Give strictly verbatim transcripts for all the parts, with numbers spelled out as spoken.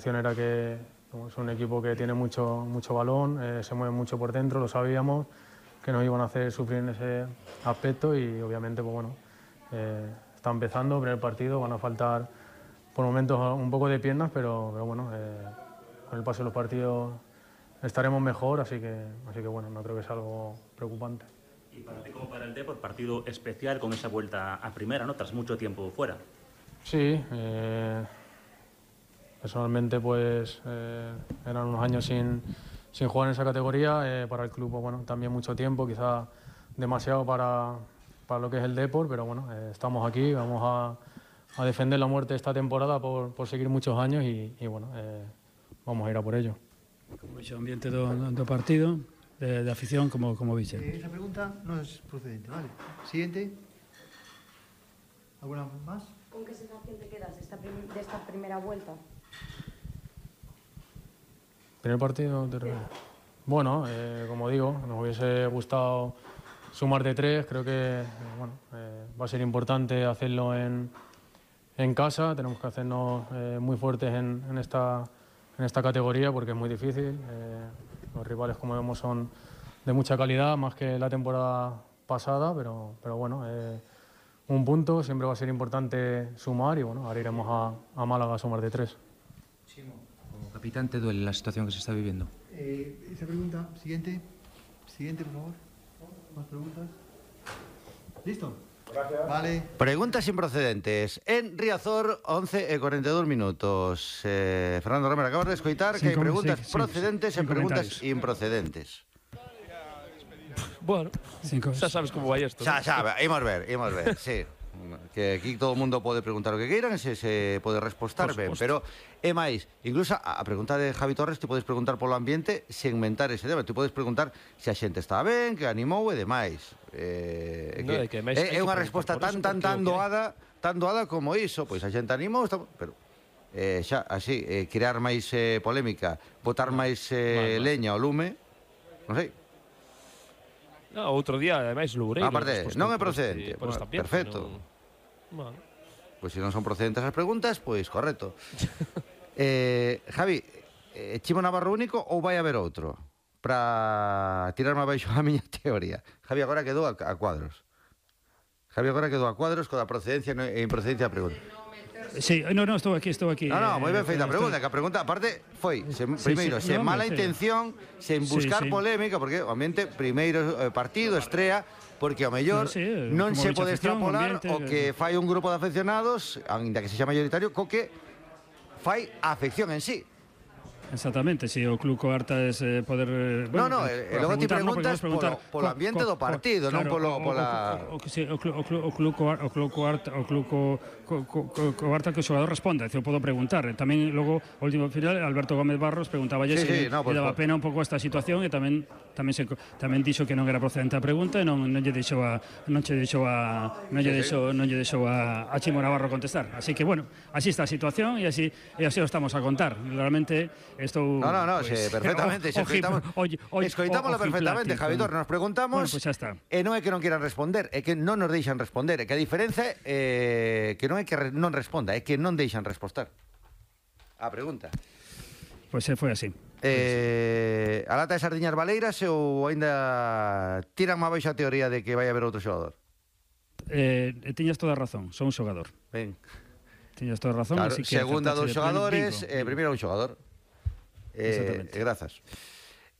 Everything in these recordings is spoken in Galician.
Era que es un equipo que tiene mucho, mucho balón, eh, se mueve mucho por dentro, lo sabíamos, que nos iban a hacer sufrir en ese aspecto y obviamente pues bueno, eh, está empezando, primer partido, van a faltar por momentos un poco de piernas, pero, pero bueno, eh, con el paso de los partidos estaremos mejor, así que, así que bueno, no creo que sea algo preocupante. Y para ti como para el Depor, partido especial con esa vuelta a primera, ¿no? Tras mucho tiempo fuera. Sí, eh, personalmente pues eh, eran unos años sin, sin jugar en esa categoría, eh, para el club pues, bueno, también mucho tiempo, quizás demasiado para, para lo que es el Depor, pero bueno, eh, estamos aquí, vamos a, a defender la muerte esta temporada por, por seguir muchos años y, y bueno, eh, vamos a ir a por ello. Como o ambiente do, do partido, de, de afición, como, como vixe. Eh, esa pregunta no es procedente, vale. Siguiente. ¿Alguna más? ¿Con qué sensación te quedas de esta, prim de esta primera vuelta? ¿Primer partido? De... Bueno, eh, como digo, nos hubiese gustado sumar de tres, creo que eh, bueno, eh, va a ser importante hacerlo en, en casa, tenemos que hacernos eh, muy fuertes en, en, esta, en esta categoría porque es muy difícil, eh, los rivales como vemos son de mucha calidad, más que la temporada pasada, pero, pero bueno, eh, un punto, siempre va a ser importante sumar y bueno, ahora iremos a, a Málaga a sumar de tres. Como capitán, ¿te duele la situación que se está viviendo? Eh, esa pregunta, siguiente. Siguiente, por favor. ¿Más preguntas? ¿Listo? Gracias. Vale. Preguntas improcedentes. En Riazor, once e cuarenta y dos minutos. Eh, Fernando Romero, acabas de escoitar que hai preguntas sí, procedentes sí, sí, e preguntas improcedentes. Bueno, Cinco. xa sabes como vai isto. Xa, xa, imos ver, imos ver, sí. Que aquí todo o mundo pode preguntar o que queiran e se, se pode respostar ben, pero é máis, incluso a, a pregunta de Javi Torres te podes preguntar polo ambiente sen mentar ese tema, te podes preguntar se a xente está ben, que animou e demais. Eh, no, que, que máis, é, é unha resposta tan tan tan doada, tan doada como iso, pois a xente animou, está, pero eh, xa, así, eh, crear máis eh, polémica, botar máis eh, leña ao lume, non sei. No, outro día, ademais, Loureiro. Aparte, non é procedente. Por esta, por bueno, perfecto. Non... Bueno. Pois pues se non son procedentes as preguntas, pois pues, correcto. eh, Javi, eh, Chimo Navarro único ou vai haber outro? Para tirarme abaixo a miña teoría. Javi agora quedou a, a cuadros. Javi agora quedou a cuadros coa procedencia e improcedencia da pregunta. Sí, no, no, estou aquí, estou aquí. No, no, moi ben feita a pregunta, que a pregunta, aparte, foi, se, sí, primeiro, sí, sen no, mala sí. intención, sen buscar sí, sí. polémica, porque, obviamente, primeiro eh, partido, estrea, porque, ao mellor, no, sí, non se pode extrapolar ambiente, o que fai un grupo de afeccionados, ainda que se xa mayoritario, co que fai a afección en sí. Exactamente, si o club coarta es eh, poder... Bueno, no, no, e logo ti preguntas polo, polo ambiente do partido, non polo pola... O club coarta o club coarta que o xogador responda, eu podo preguntar. Tamén logo, o último final, Alberto Gómez Barros preguntaba se lle daba pena un pouco esta situación e tamén tamén se tamén dixo que non era procedente a pregunta e non non lle deixou a non lle deixou a non lle deixou non lle deixou a Chimo Navarro contestar. Así que bueno, así está a situación e así e así o estamos a contar. Realmente Estou, no, no, no, pues, sí, perfectamente, se escoitamos, escoitámoslo perfectamente, Javi Torres, nos preguntamos, bueno, pues xa está. E non é que non quieran responder, é que non nos deixan responder, é que a diferenza é eh, que non é que re, non responda, é que non deixan respostar. A pregunta. Pois pues, foi así. Eh, a lata de sardiñas valeiras ou aínda tiran má baixa a teoría de que vai haber outro xogador? Eh, tiñas toda a razón, son un xogador. Ben. Tiñas toda a razón, claro, así que segunda dos xogadores, eh, primeiro un xogador. Eh, grazas.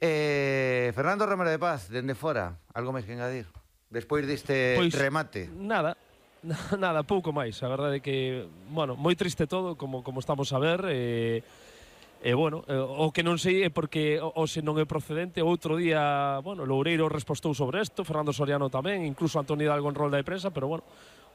Eh, Fernando Romero de Paz, dende fora, algo máis que engadir? Despois deste pois, remate. Nada, nada, pouco máis. A verdade é que, bueno, moi triste todo, como, como estamos a ver. E, e bueno, eh, o que non sei é porque o, o se non é procedente. Outro día, bueno, Loureiro respostou sobre isto, Fernando Soriano tamén, incluso Antonio Hidalgo en rol da prensa, pero bueno,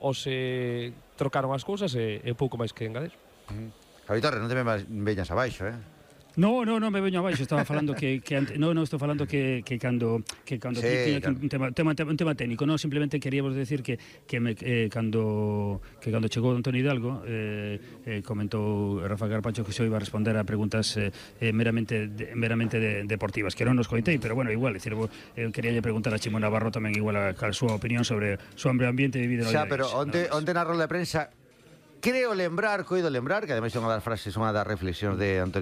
o se trocaron as cousas e, e pouco máis que engadir. Mm. Javi Torres, non te veñas abaixo, eh? No, no, no me veño abaixo, estaba falando que, que ante, no, no, estou falando que, que cando que cando sí, tiña claro. un tema, tema, un tema técnico, no, simplemente queríamos decir que que me eh, cando que cando chegou Antonio Hidalgo, eh, eh, comentou Rafa Carpacho que se iba a responder a preguntas eh, eh, meramente de, meramente de, deportivas, que non nos coitei, pero bueno, igual, decir, eu quería lle preguntar a Chimo Navarro tamén igual a, a súa opinión sobre o seu ambiente de vida. Xa, pero onte onte na rola de prensa creo lembrar, coido lembrar, que ademais é unha das frases, unha das reflexións de Antonio